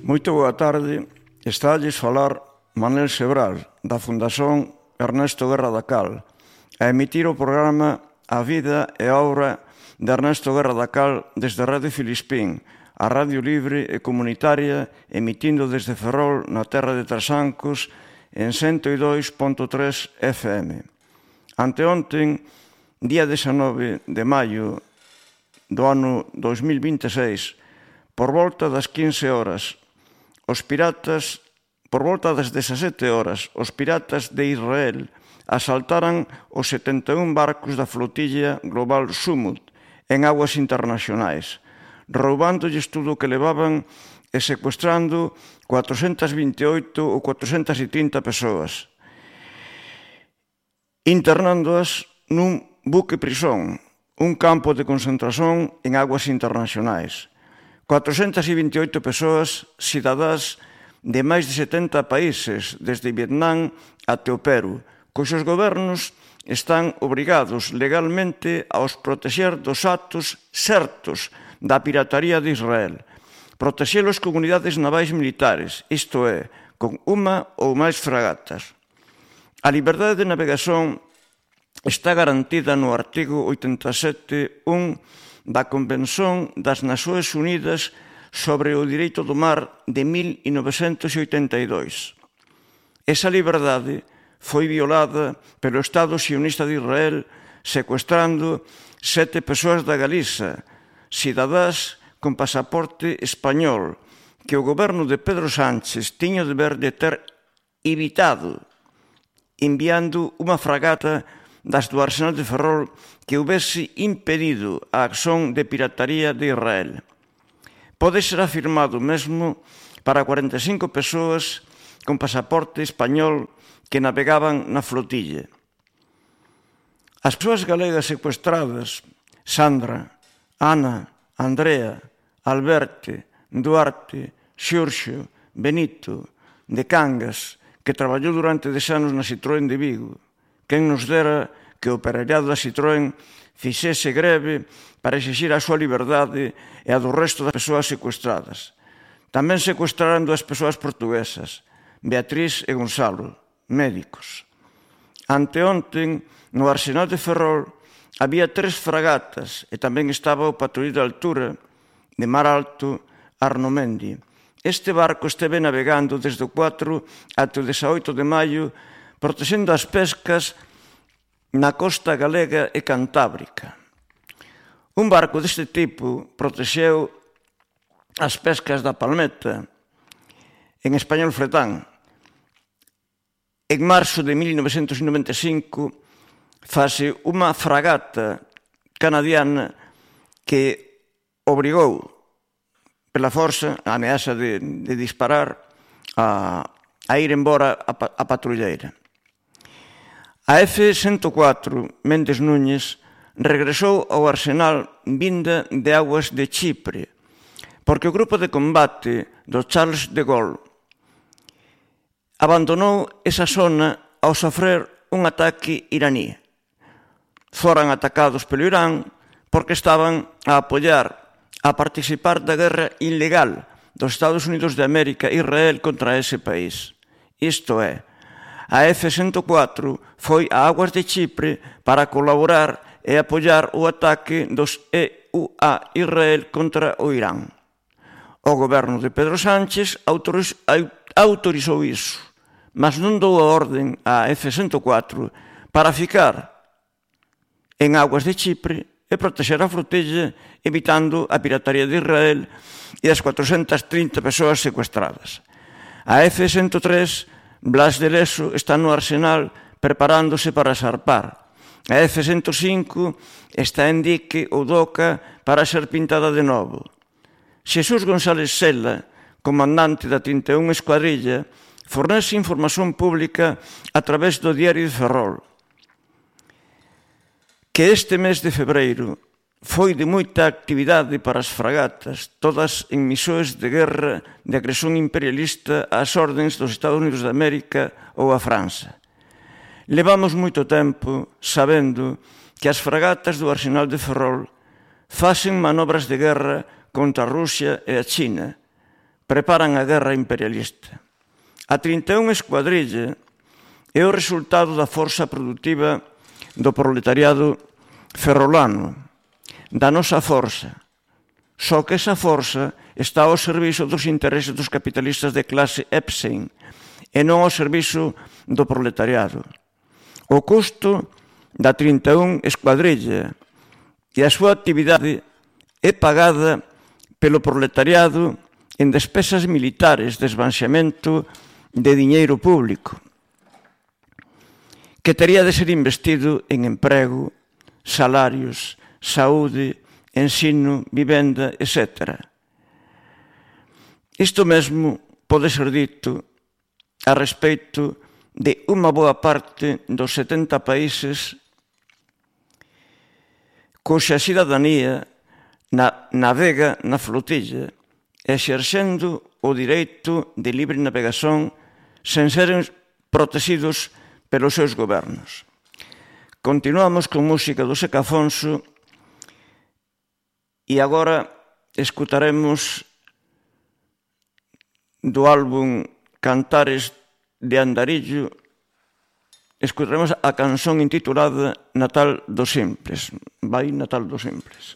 Moito boa tarde. Estalles falar Manel Sebral, da Fundación Ernesto Guerra da Cal, a emitir o programa A Vida e a Obra de Ernesto Guerra da Cal desde Radio Filispín, a radio libre e comunitaria, emitindo desde Ferrol, na terra de Trasancos, en 102.3 FM. Anteonten, día 19 de maio do ano 2026, por volta das 15 horas, por volta das 17 horas, os piratas de Israel asaltaran os 71 barcos da flotilla global Sumut en aguas internacionais, roubandolles tudo o que levaban e secuestrando 428 ou 430 persoas, internándoas nun buque prisón, un campo de concentración en aguas internacionais. 428 persoas cidadás de máis de 70 países, desde Vietnam até o Perú, cuxos gobernos están obrigados legalmente a os protexer dos actos certos da pirataría de Israel, protexelos con unidades navais militares, isto é, con unha ou máis fragatas. A liberdade de navegación está garantida no artigo 87.1 da Convención das Nações Unidas sobre o Direito do Mar de 1982. Esa liberdade foi violada pelo Estado sionista de Israel secuestrando 7 persoas da Galiza, cidadás con pasaporte español, que o goberno de Pedro Sánchez tiña o deber de ter evitado enviando unha fragata das do Arsenal de Ferrol que houvese impedido a acción de pirataría de Israel. Pode ser afirmado mesmo para 45 persoas con pasaporte español que navegaban na flotilla. As persoas galegas secuestradas, Sandra, Ana, Andrea, Alberte, Duarte, Xurxo, Benito, de Cangas, que traballou durante 10 anos na Citroën de Vigo. Quen nos dera que o operariado da Citroën fixese greve para exixir a súa liberdade e a do resto das persoas secuestradas. Tamén secuestraran 2 persoas portuguesas, Beatriz e Gonzalo, médicos. Anteonten, no Arsenal de Ferrol, había 3 fragatas e tamén estaba o patrulleiro de altura de Mar Alto, Arnomendi. Este barco esteve navegando desde o 4 até o 18 de maio, protexendo as pescas na costa galega e cantábrica. Un barco deste tipo protexeu as pescas da palmeta, en español fretán. En marzo de 1995, fase unha fragata canadiana que obrigou, pela forza, a ameaza de disparar, a ir embora a patrulleira. A F-104 Méndez Núñez regresou ao arsenal vinda de aguas de Chipre, porque o grupo de combate do Charles de Gaulle abandonou esa zona ao sofrer un ataque iraní. Foran atacados pelo Irán porque estaban a apoiar, a participar da guerra ilegal dos Estados Unidos de América e Israel contra ese país. Isto é, a F-104 foi a aguas de Chipre para colaborar e apoiar o ataque dos EUA Israel contra o Irán. O goberno de Pedro Sánchez autorizou iso, mas non dou a orden á F-104 para ficar en aguas de Chipre e protexer a flotilla evitando a pirataría de Israel e as 430 persoas secuestradas. A F-103 Blas de Leso está no arsenal preparándose para zarpar. A F-105 está en dique ou doca para ser pintada de novo. Xesús González Sela, comandante da 31 Escuadrilla, fornece información pública a través do Diario de Ferrol, que este mes de febreiro foi de moita actividade para as fragatas, todas en misións de guerra de agresión imperialista ás ordes dos Estados Unidos de América ou a França. Levamos moito tempo sabendo que as fragatas do Arsenal de Ferrol facen manobras de guerra contra a Rusia e a China, preparan a guerra imperialista. A 31 Escuadrilla é o resultado da forza productiva do proletariado ferrolano, da nosa forza. Só que esa forza está ao servizo dos intereses dos capitalistas de clase Epstein e non ao servizo do proletariado. O custo da 31 Escuadrilla e a súa actividade é pagada pelo proletariado en despesas militares de esvaziamento de diñeiro público, que tería de ser investido en emprego, salarios, saúde, ensino, vivenda, etc. Isto mesmo pode ser dito a respecto de unha boa parte dos 70 países cuxa cidadanía navega na flotilla, exercendo o direito de libre navegación sen seren protegidos pelos seus gobernos. Continuamos con música do Seca Afonso e agora escutaremos do álbum Cantares de Andarillo, escutaremos a canción intitulada Natal dos Simples. Vai Natal dos Simples.